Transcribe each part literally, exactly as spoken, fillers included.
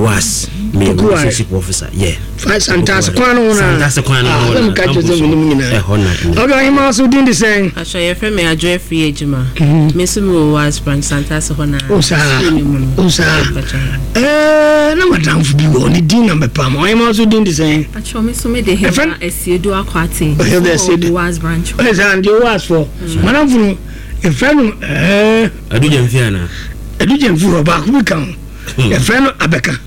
O A S, meyɛ relationship officer, yeah. Santase kwan no ho na Santase kwan no ho na. Ka kyerɛ sɛ menim nyinaa. Ɛhɔ na. Ok, ɔhema so din de sɛn? Atwa, yɛfrɛ me Adwo Afiri Adwuma. Me nso mewɔ O A S branch Santase hɔ na. O saa, o saa. Ɛɛ, na madamfo bi wɔ ne din na mɛpam. Ɔhema so din de sɛn? Atwa, me nso mede Hilda Asiedu Akwate. Hilda Asiedu. O A S branch. Ɔyɛ saa ndeɛ O A S fɔ madamfo no, yɛfrɛ no ɛɛ Adugya mfi ana? Adugya mfi hɔ, baako bi ka ho, yɛfrɛ no Abɛka.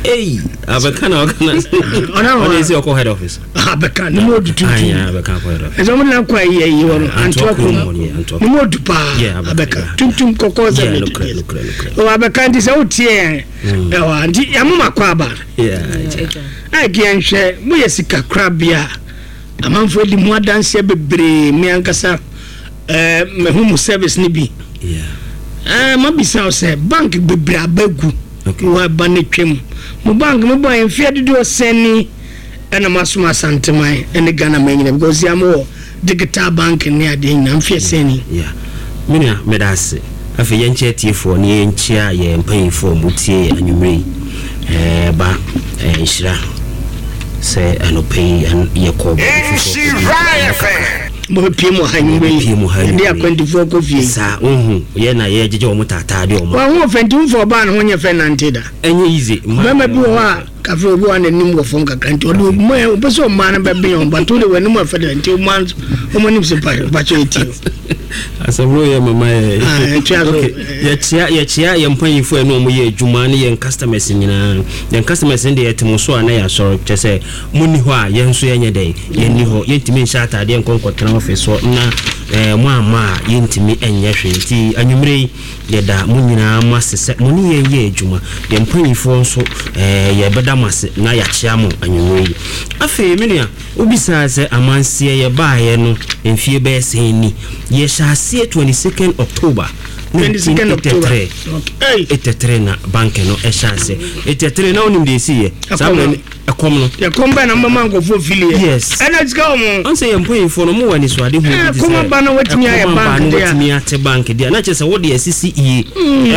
Ei, Abɛka na ɔka na ɔne sɛ ɔkɔ head office. Abɛka ne mu ɔdu tuntum. Abɛka kɔ head office. Ɛsɛ ɔmo na kɔ ayi ayi wɔ no Antoa kurom ne mu ɔdu paa. Abɛka tuntum kɔkɔɔ sɛ nokorɛ nokorɛ nokorɛ. Ɔwɔ Abɛka, nti sɛ wotie yɛn ɛwɔ nti yɛmoma kɔ aba a kɛ yɛnhwɛ moyɛ sika korabea. Amanfoɔ di mu adanseɛ bebree. Me ankasa ɛɛ mehu mu service ne bi. ɛɛ mabisa wo sɛ bank bebree aba gu wɔ aba ne twam, mo bank mo bɔ yɛn mfeɛ dodoɔ sɛn ni ɛna mo asom Asanteman ɛne Ghana man nyina? Because yà mo wɔ digital bank ne adeɛ nyina, mfeɛ sɛn ni? Yeah, me nua, meda ase. Afei yɛnkyɛ atiefoɔ ne yɛnkyia yɛn mpanyinfoɔ a wɔtie yɛ anwummerɛ yi. ɛɛ ba ɛɛ nhyira sɛ anɔpɛ yi yɛkɔ baabi foforɔ kakra. Mo pie mu ha nwummerɛ yi. Pie mu ha. Yɛde akwantifoɔ kɔ fie. Saa wohu yɛ na yɛgyegye wɔn taataa de wɔn. Wɔn ho fɛ, nti nfɔ ɔbaa ne ho nyɛ fɛ nante da. Ɛnyɛ easy. Bɛrima bi wɔ hɔ a kafe obi wɔ n'anim wɔ fam kakra, nti ɔde ɔmo yɛ ɔpɛ sɛ ɔmaa no bɛbɛn wɔn, but wode w'anim afɛ dɛ, nti ɔmo an ɔmo anim sɛ mpakyɛ eti o. Asɛm no yɛ mama yɛ. Ah, ɛtua so. Okay, yɛkyia yɛkyia yɛn mpanyinfoɔ yɛn ne wɔn yɛ adwuma ne yɛn customers nyinaa. Yɛn customers no deɛ, yɛte mo so a na yɛasɔre kyɛ sɛ mo ni hɔ a, yɛn nso yɛnyɛ dɛn, yɛn ni hɔ. Yɛntumi nhyɛ ataadeɛ nkɔ nkɔtena office hɔ na ɛɛ mo ama a yɛntumi nyɛ hwee. Nti anwummerɛ yi yɛda mo nyinaa mo ase sɛ mo ne yɛn yɛ adwuma. Yɛn mpanyinfoɔ nso, ɛɛ yɛbɛda mo ase na yɛakyia mo anwummerɛ yi. Afei me nua, wobisaa sɛ amanseɛ yɛbaeɛ no mfie bɛyɛ sɛn ni. Yɛhyɛ aseɛ twenty-second October twenty-second October. nineteen eighty-three. Okay. eighty-three na bank no ɛhyɛ ase. eighty-three na wonim deɛ ɛsiiɛ saa Ɛkɔm mmerɛ no. no, ɛkɔm no. Yɛkɔm bɛn na mbɛma nkɔfoɔ fili yɛ? Yes. Ɛna sika wɔ mo. Ɔn sɛ yɛn mpanyinfoɔ no, mo wɔ anisoade hu bi Eh, te kɔm sɛ aba na watumi ayɛ ɛkɔm aba bank na deɛ a. watumi ate bank deɛ, na kyerɛ sɛ wode asisi yie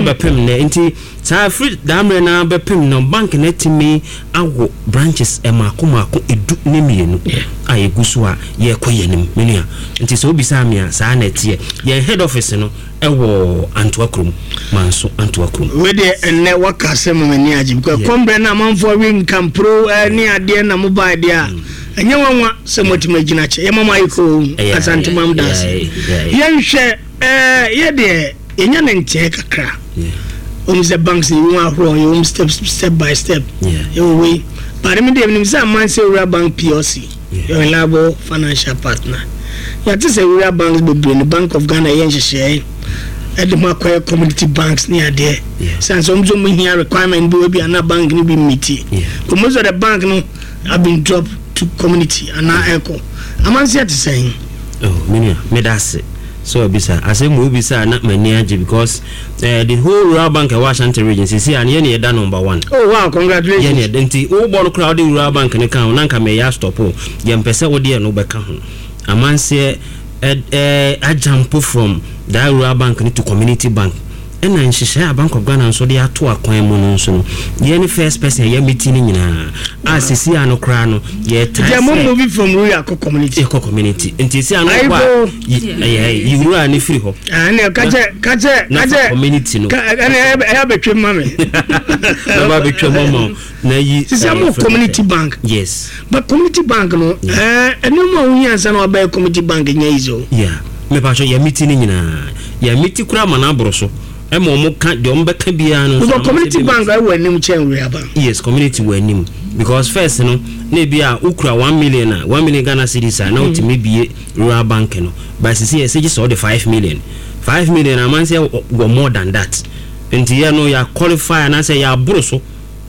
ɛbɛpem nɛ. Nti saa firi daa mmerɛ no bɛpem no, bank no atumi awo branches ɛmaako maako edu ne mmienu a yɛgu so a yɛrekɔ yɛn anim, me nua. Nti sɛ wobisaa me a, saa na ɛteɛ. Yɛn head office no ɛwɔ Antoa kurom, Manso Antoa kurom. Wei deɛ, ɛnnɛ waka asɛm ma m'ani agye because Yeah. kɔmbrɛ no amanfoɔ we nkamporo eh, ne adeɛ na mobae deɛ a, ɛnyɛ nwanwa sɛ moatumi agyina kyɛ. Yɛma mo ayɛ koo. Ɛyɛ, Asantemam da ase. ɛyɛ, ɛyɛ. Yɛnhwɛ eh, yɛdeɛ yɛnya ne nteɛ kakra. Yeah. Wɔn sɛ banks yɛwɔ mu ahoroɔ, yɛwɔ mu step step by step. Yeah. Yɛwɔ wei but mi deɛ menim sɛ Amansɛ Rural Bank P L C Yeah. yɛ reliable financial partner. Yɛate sɛ rural banks bebree no, Bank of Ghana yɛ nhyehyɛe ɛde mo akɔyɛ community banks ne adeɛ. Yeah. San sɛ wɔn nso mo hia requirement bi wɔ bi ana bank no bi meet. Yeah. But most of the bank no have been dropped to community anaa ɛkɔ. Amansɛ te sɛn? Oh, me nua, meda ase sɛ wabisa asɛm mu. Wobisa a na m'ani agye because uh, the whole rural bank ɛwɔ Ashanti Region sisi a no, yɛne yɛda number one. Oh wow, congratulations. Yɛne yɛda. Nti wobɔ no koraa, wode rural bank no ka ho na nka mɛyɛ astop o. Yɛmpɛ sɛ wode ɛno wobɛka ho. Amanseɛ ɛ- ɛ, ajump from that rural bank no to community bank, ɛna nhyehyɛe a Bank of Ghana nso de ato akwan mu no nso no, yɛne first person a yɛ meeting no nyinaa a sisi a no koraa no yɛtaa Nti mo sɛ moving from rural kɔ community. Yɛkɔ community, nti si ano Ayibo. kɔ a yi- ɛyɛ yiwura ne firi hɔ. Ah, ɛnna kakyɛ kakyɛ Na fa kakyɛ community no. Ka ɛnna ɛyɛ abɛtwe ma me. Na ba bɛtwa mu ama wo na yi. Sisi ɛyɛ mo fɛ- community bank. Yes. But community bank no, ɛɛ ɛnneɛma a wohia nsa na wabɛyɛ community bank nyɛ easy o. Yeah, mepatwɛ, yɛ meeting no nyinaa, yɛ meeting koraa ma no aboro so ɛma ɔmo ka deɛ ɔmo bɛka biara no nso because ama community sɛ bi bank ɛwɔ anim kyɛn rural bank. Yes, community wɔ anim because first no, na ebi a wokura one million a, one million Ghana cedis a, na wotumi bie rural bank no, but sisi yɛ sɛ gye sɛ ɔde five million, five million amansɛ wɔ more than that. Nti yɛ no yɛ qualify anaasɛ yɛ aboro so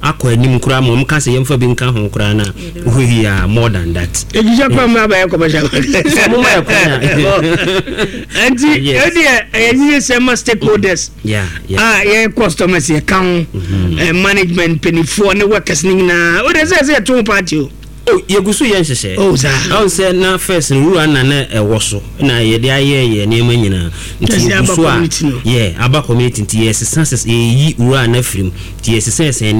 akɔ anim koraa ma ɔmo ka sɛ yɛmfa bi nka ho koraa na wohwehwɛ a more than that. Ejijɛ kwan mu abɛyɛ commercial bank. Sɛ mo ma yɛ kwan a. Nti Yes. ɛdeɛ ɛyɛ yiye sɛ ma stakeholders yeah yeah a yɛ customers yɛ ka ho, ɛ, management mpanimfoɔ ne workers ne nyinaa o de sɛ sɛ yɛto ho party o. Oh, yɛgu so yɛ nhyehyɛ. Oh, saa. Ɔn sɛ na first no, wura na na ɛwɔ so na yɛde ayɛ yɛ nneɛma nyinaa nti Kyerɛ sɛ yɛgu aba so a community no. Yɛ aba community, nti yɛsesa sesa, yɛyi wura na firim, nti yɛsesa yɛsɛn.